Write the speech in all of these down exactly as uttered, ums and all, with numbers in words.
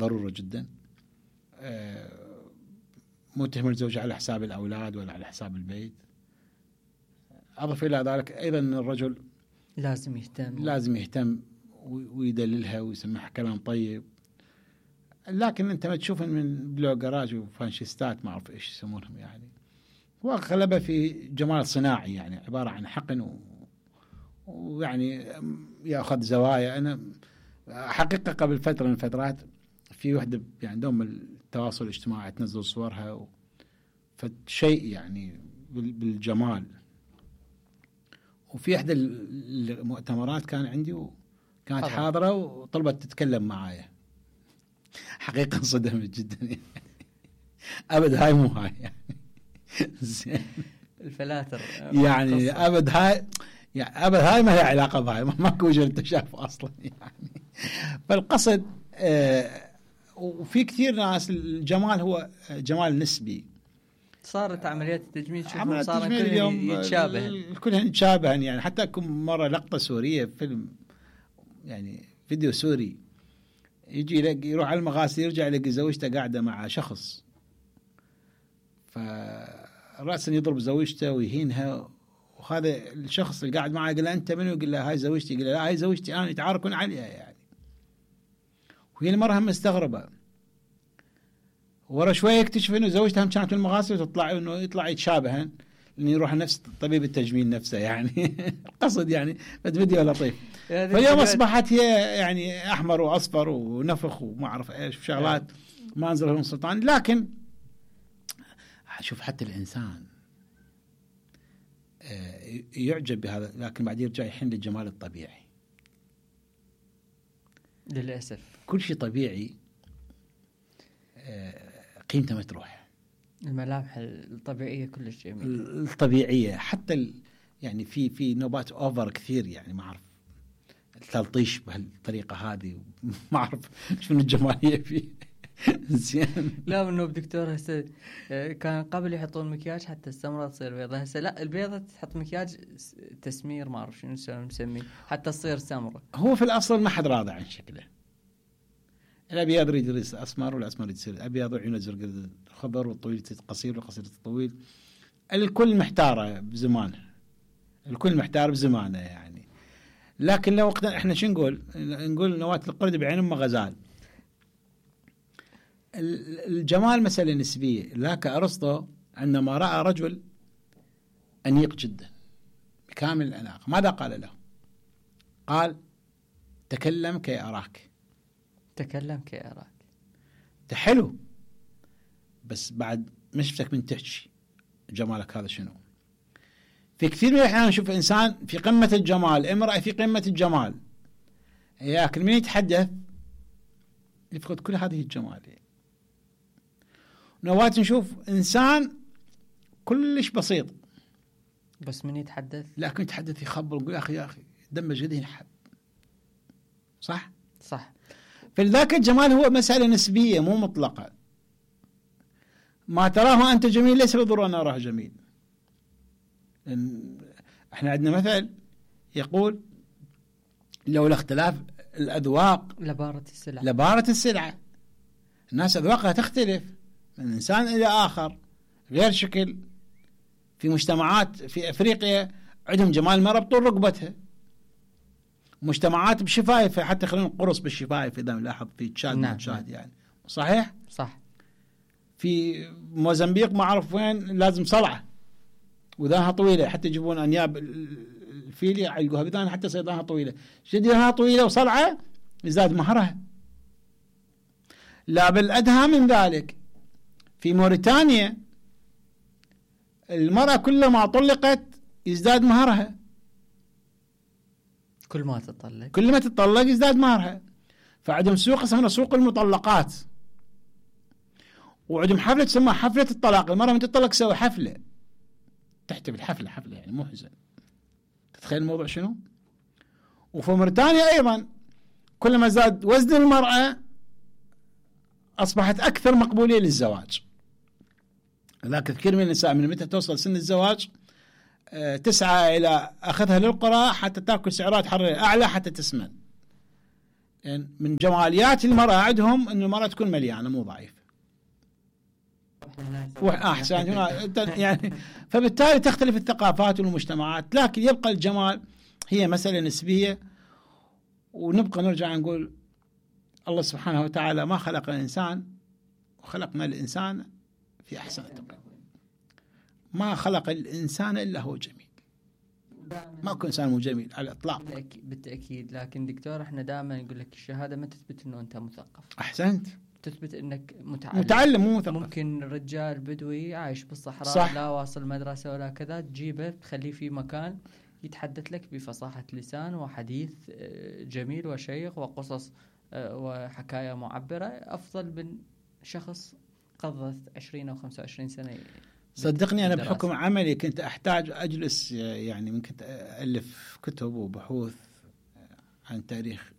ضرورة جدا. مو تهمل الزوجة على حساب الأولاد ولا على حساب البيت. أضف إلى ذلك أيضا الرجل لازم يهتم لازم يهتم ويدللها ويسمعها كلام طيب. لكن أنت ما تشوفهم من بلوجراج وفانشيستات ما أعرف إيش يسمونهم يعني، هو غلبة في جمال صناعي يعني عبارة عن حقن و... ويعني يأخذ زوايا. أنا حقيقة قبل فترة من الفترات في وحدة يعني عندهم التواصل الاجتماعي تنزل صورها و... فشيء يعني بالجمال. وفي إحدى المؤتمرات كان عندي وكانت حاضرة وطلبت تتكلم معايا، حقيقة انصدمت جدا يعني. أبد هاي مو هاي يعني زين الفلاتر يعني أبد هاي يعني أبد هاي ما هي علاقة بهاي، ماكو وجه التشاف أصلا يعني. فالقصد آه وفي كثير ناس الجمال هو جمال نسبي. صارت عمليات التجميل عمليات التجميل اليوم يتشابه كلها يتشابه يعني. حتى كم مرة لقطة سورية فيلم يعني فيديو سوري يجي يلاقي يروح على المغاسل يرجع يلاقي زوجته قاعدة مع شخص، فرأسا يضرب زوجته ويهينها، وهذا الشخص اللي قاعد معه يقول له أنت منو؟ يقول له هاي زوجتي. يقول له لا هاي زوجتي أنا، يتعاركون عليها يعني. وهي المرة هم مستغربة، ورا شوية يكتشف إنه زوجته هم كانت المغاسل وتطلع إنه يطلع يتشابهن لأنه يروح نفس طبيب التجميل نفسه يعني. القصد يعني فيديو لطيف. فاليوم أصبحت هي يعني أحمر وأصفر ونفخ وما أعرف إيش وشغلات ما أنزل لهم سلطان. لكن شوف حتى الإنسان يعجب بهذا، لكن بعد يرجع يحن للجمال الطبيعي. للأسف كل شيء طبيعي قيمته ما تروح. الملامح الطبيعية كلش جميلة الطبيعية حتى ال يعني في في نوبات أوفر كثير يعني ما أعرف التلطيش بهالطريقة هذه ما أعرف شنو الجمالية فيه. زين لا منو دكتور هسه كان قبل يحطون مكياج حتى السمرة تصير بيضة، هسه لا البيضة تحط مكياج تسمير ما أعرف شنو نسميه حتى تصير سمرة. هو في الأصل ما حد راضي عن شكله. الأبيض يريد يصير أسمر والأسمر يريد يصير أبيض وعيونه زرق خضر والطويل قصير والقصير طويل. الكل محتارة بزمانه، الكل محتار بزمانه يعني. لكن لو وقتنا احنا شو نقول؟ نقول نواة القرد بعين أم غزال. الجمال مسألة نسبية. لك أرسطو عندما رأى رجل أنيق جدا بكامل الأناقة ماذا قال له؟ قال تكلم كي أراك. تكلم كي أراك تحلو بس بعد ما شفتك من تحكي جمالك هذا شنو. في كثير من الأحيان نشوف إنسان في قمة الجمال، امرأة في قمة الجمال، لكن من يتحدث يفقد كل هذه الجمال. نوات نشوف إنسان كلش بسيط بس من يتحدث لكن يتحدث يخبر ويقول يا أخي يا أخي دم جديد حب. صح صح. فلذاك الجمال هو مسألة نسبية مو مطلقة. ما تراه أنت جميل ليس بالضرورة أن أراه جميل. احنا عندنا مثل يقول لولا اختلاف الأذواق لبارة السلعة. لبارة السلعة. الناس أذواقها تختلف من إنسان إلى آخر غير شكل. في مجتمعات في أفريقيا عندهم جمال المرأة بطول رقبتها، مجتمعات بشفايف حتى يخلون قرص بالشفايف إذا نلاحظ في تشاد نعم. تشاد يعني صحيح صح. في موزمبيق ما أعرف وين لازم صلعة وذانها طويلة حتى يجيبون أنياب الفيل يعلقوها بذان حتى صيدانها طويلة شديها طويلة وصلعة يزداد مهرها. لا بالأدهى من ذلك في موريتانيا المرأة كلما طلقت يزداد مهرها، كل ما تطلق كل ما تطلق يزداد مهرها. فعندهم سوق اسمها سوق المطلقات، وعندهم حفلة تسمى حفلة الطلاق. المرأة من تطلق تسوي حفلة تحتفل حفلة حفلة يعني مو حزن. تتخيل الموضوع شنو؟ وفي موريتانيا أيضا كلما زاد وزن المرأة أصبحت أكثر مقبولية للزواج. لكن كثير من النساء من متى توصل سن الزواج أه تسعى إلى أخذها للقرى حتى تأكل سعرات حرارية أعلى حتى تسمن. يعني من جماليات المرأة عندهم أن المرأة تكون مليانة مو ضعيفة. أحسن يعني فبالتالي تختلف الثقافات والمجتمعات، لكن يبقى الجمال هي مسألة نسبية. ونبقى نرجع نقول الله سبحانه وتعالى ما خلق الإنسان وخلقنا الإنسان في أحسن تقويم. ما خلق الإنسان إلا هو جميل، ما كل إنسان مو جميل على الإطلاق. بالتأكيد، لكن دكتور احنا دائما يقول لك الشهادة ما تثبت إنه أنت مثقف. أحسنت. تثبت إنك متعلم. متعلم مو مثقف. ممكن رجال بدوي عايش بالصحراء صح. لا واصل مدرسة ولا كذا، تجيبه تخليه في مكان يتحدث لك بفصاحة لسان وحديث جميل وشيق وقصص وحكاية معبرة أفضل من شخص قضت عشرين أو خمسة وعشرين سنة. صدقني أنا بحكم عملي كنت أحتاج أجلس، يعني من كنت ألف كتب وبحوث عن تاريخ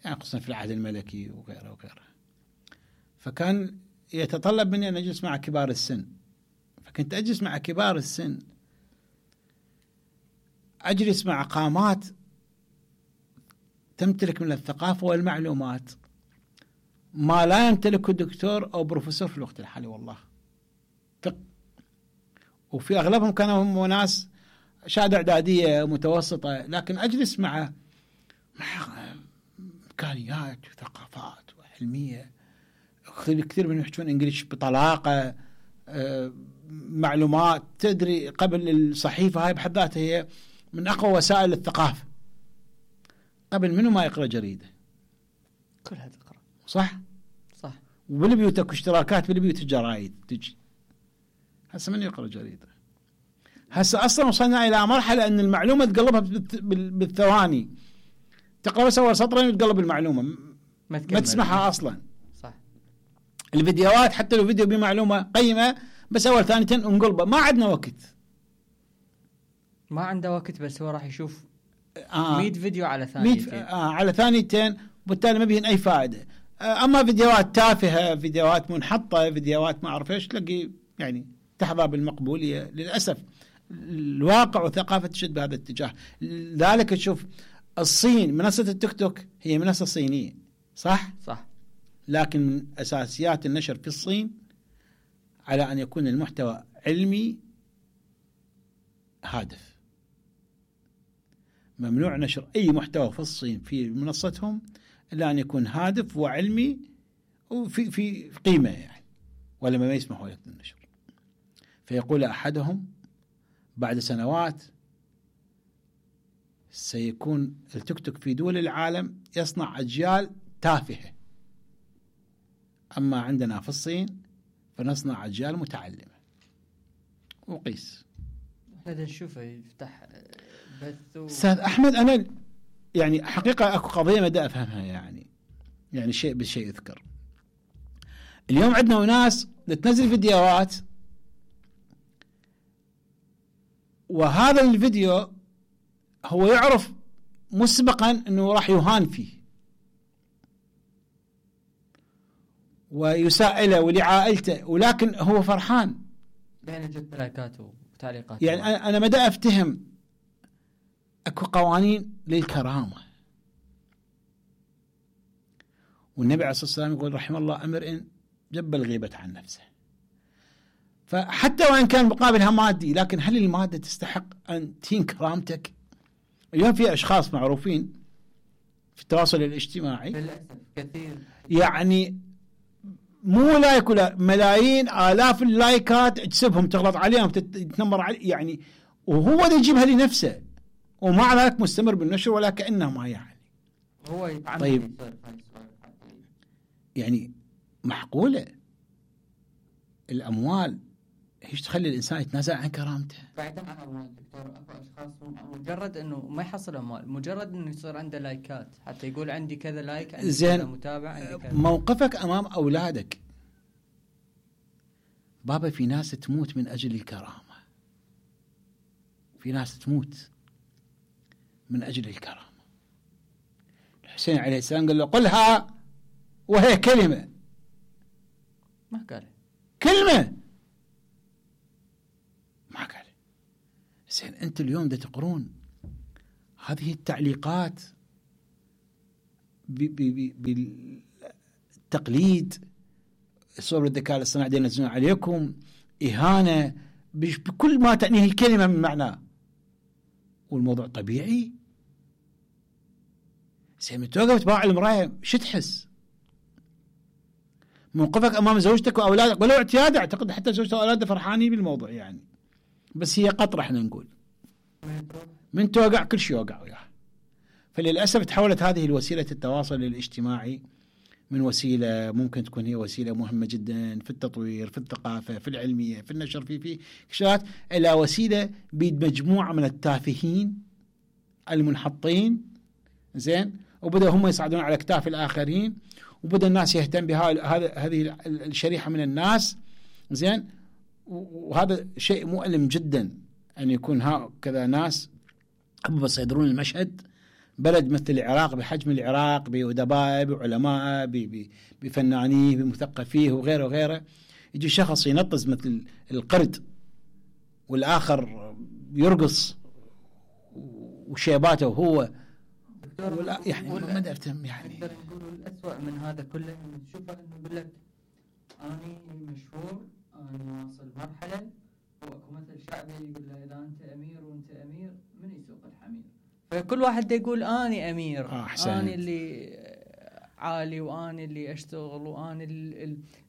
يعني خصوصا في العهد الملكي وغيره وغيره، فكان يتطلب مني أن أجلس مع كبار السن، فكنت أجلس مع كبار السن، أجلس مع قامات تمتلك من الثقافة والمعلومات ما لا يمتلكه دكتور أو بروفيسور في الوقت الحالي والله. وفي أغلبهم كانوا هم ناس شهادة إعدادية متوسطة، لكن أجلس مع إمكانيات وثقافات وعلمية، كثير منهم يحكون إنجليش بطلاقة، معلومات تدري قبل الصحيفة هاي بحد ذاتها هي من أقوى وسائل الثقافة، قبل منه ما يقرأ جريدة كلها تقرأ. صح صح. وبالبيوت اكو اشتراكات بالبيوت الجرايد تجي، هسه من يقرأ جريدة؟ هسه أصلا وصلنا إلى مرحلة أن المعلومة تقلبها بالثواني، تقرأ بس أول سطرين وتقلب المعلومة ما, ما تسمعها أصلا. صح. الفيديوهات حتى لو فيديو بمعلومة قيمة بس أول ثانيتين انقلبه، ما عندنا وقت، ما عنده وقت، بس هو راح يشوف آه مية فيديو على ثانيتين آه على ثانيتين، وبالتالي ما بيهن أي فائدة. آه أما فيديوهات تافهة، فيديوهات منحطة، فيديوهات ما أعرف إيش، تلاقي يعني تحظى بالمقبولية. للأسف الواقع وثقافة تشد بهذا الاتجاه. لذلك تشوف الصين منصة التيك توك هي منصة صينية صح؟ صح. لكن من أساسيات النشر في الصين على أن يكون المحتوى علمي هادف. ممنوع نشر أي محتوى في الصين في منصتهم إلا أن يكون هادف وعلمي وفي في قيمة يعني، ولا ما يسمحوا لك بالنشر. فيقول أحدهم بعد سنوات سيكون التيك توك في دول العالم يصنع أجيال تافهة، أما عندنا في الصين فنصنع أجيال متعلمة. وقيس هذا نشوفه يفتح بث و... أستاذ أحمد، أنا يعني حقيقة أكو قضية مدى أفهمها، يعني يعني شيء بالشيء يذكر. اليوم عندنا ناس تنزل فيديوهات، وهذا الفيديو هو يعرف مسبقا أنه راح يهان فيه ويسائله ولعائلته، ولكن هو فرحان يعني جد لايكاته وتعليقاته. يعني أنا مدى أفتهم أكو قوانين للكرامة، والنبي عليه الصلاة والسلام يقول رحم الله امرئ جب الغيبة عن نفسه. فحتى وإن كان مقابلها مادي، لكن هل المادة تستحق أن تهين كرامتك؟ اليوم في أشخاص معروفين في التواصل الاجتماعي للأسف كثير، يعني مو لايك ولا ملايين آلاف اللايكات تسبهم تغلط عليهم تتنمر عليه يعني، وهو ده يجيبها لنفسه، ومع ذلك مستمر بالنشر ولا كأنه ما يعني. هو يتعمل. طيب يعني معقولة الأموال هيش تخلي الإنسان يتنازل عن كرامته؟ بعيدا عن أموال دكتور، أكو أشخاص مجرد إنه ما يحصل أموال، مجرد إنه يصير عنده لايكات حتى يقول عندي كذا لايك، عندي كذا متابع، عندي كذا. موقفك أمام أولادك، بابا في ناس تموت من أجل الكرامة، في ناس تموت من أجل الكرامة. الحسين عليه السلام قال له قلها وهي كلمة، ما قال كلمة ما قال. زين أنت اليوم دا تقرون هذه التعليقات بالتقليد، صور الذكاء الاصطناعي ينزلون عليكم، إهانة بكل ما تعنيه الكلمة من معناه، والموضوع طبيعي. زين توقف تباع المراية شو تحس؟ موقفك أمام زوجتك وأولادك ولو اعتياد، أعتقد حتى زوجته وأولاده فرحانين بالموضوع يعني، بس هي قطرة احنا نقول من توقع كل شيء يوقع وياه. فللأسف تحولت هذه الوسيلة التواصل الاجتماعي من وسيلة ممكن تكون هي وسيلة مهمة جدا في التطوير، في الثقافة، في العلمية، في النشر، في في كشات، إلى وسيلة بيد مجموعة من التافهين المنحطين، زين، وبدأ هم يصعدون على أكتاف الآخرين، وبدأ الناس يهتم بها هذه الشريحة من الناس، زين. وهذا شيء مؤلم جدا أن يكون هكذا ناس بس يصدرون المشهد. بلد مثل العراق بحجم العراق بأدبائه بعلمائه بفنانيه بمثقفيه وغيره وغيره، يجي شخص ينطز مثل القرد والآخر يرقص وشيباته وهو ولا يعني ما درتم يعني. نقدر نقول الأسوأ من هذا كله نشوفه إنه يقول لك أني مشهور، أنا واصل مرحلة، وأكو مثل شعبي يقول له إذا أنت أمير وأنت أمير من يسوق الحمير. فكل واحد دا يقول أني أمير، آه أني اللي عالي، وأني اللي أشتغل، وأني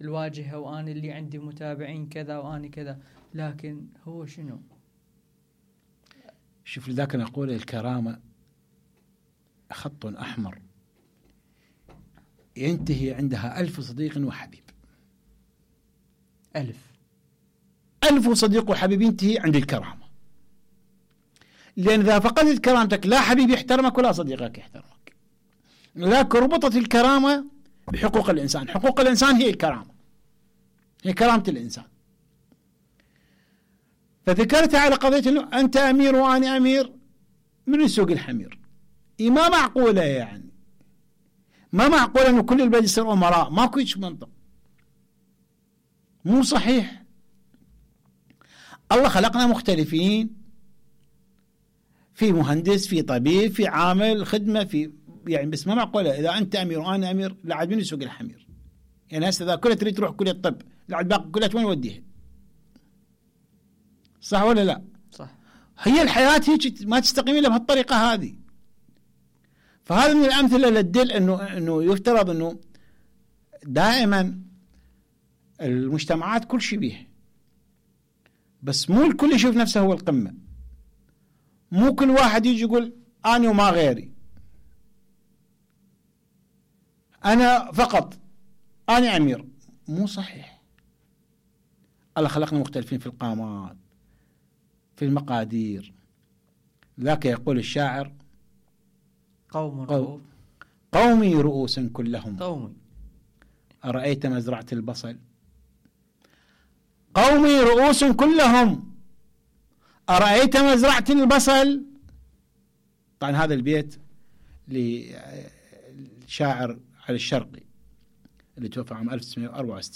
الواجهة، وأني اللي عندي متابعين كذا، وأني كذا. لكن هو شنو؟ شوف لذاك نقول الكرامة خط أحمر ينتهي عندها ألف صديق وحبيب. ألف ألف صديق وحبيب ينتهي عند الكرامة، لأن إذا فقدت كرامتك لا حبيب يحترمك ولا صديقك يحترمك. لكن ربطت الكرامة بحقوق الإنسان. حقوق الإنسان هي الكرامة، هي كرامة الإنسان. فذكرتها على قضية أنه أنت أمير وأنا أمير، من يسوق الحمير؟ إيه ما معقولة يعني، ما معقولة أنه كل البلد يصير أمراء، ماكو هيك منطق، مو صحيح. الله خلقنا مختلفين، في مهندس، في طبيب، في عامل خدمة، في يعني، بس ما معقولة إذا أنت أمير وأنا أمير لا عاد من يسوق الحمير. يعني هسه إذا كلها تريد تروح كلية الطب لا عاد باقي كلها وين وديها؟ صح ولا لا؟ صح. هي الحياة هيك ما تستقيم إلا بهالطريقة هذه. فهذا من الأمثلة اللي تدل إنه إنه يفترض إنه دائما المجتمعات كل شيء بيه، بس مو الكل يشوف نفسه هو القمة. مو كل واحد يجي يقول أنا وما غيري، أنا فقط، أنا أمير. مو صحيح. الله خلقنا مختلفين في القامات، في المقادير. ذاك يقول الشاعر قوم رؤوس قومي رؤوس كلهم قومي أرأيت مزرعة البصل. قومي رؤوس كلهم أرأيت مزرعة البصل. طبعا هذا البيت لشاعر علي الشرقي اللي توفى عام ألف وتسعمائة وأربعة وستين.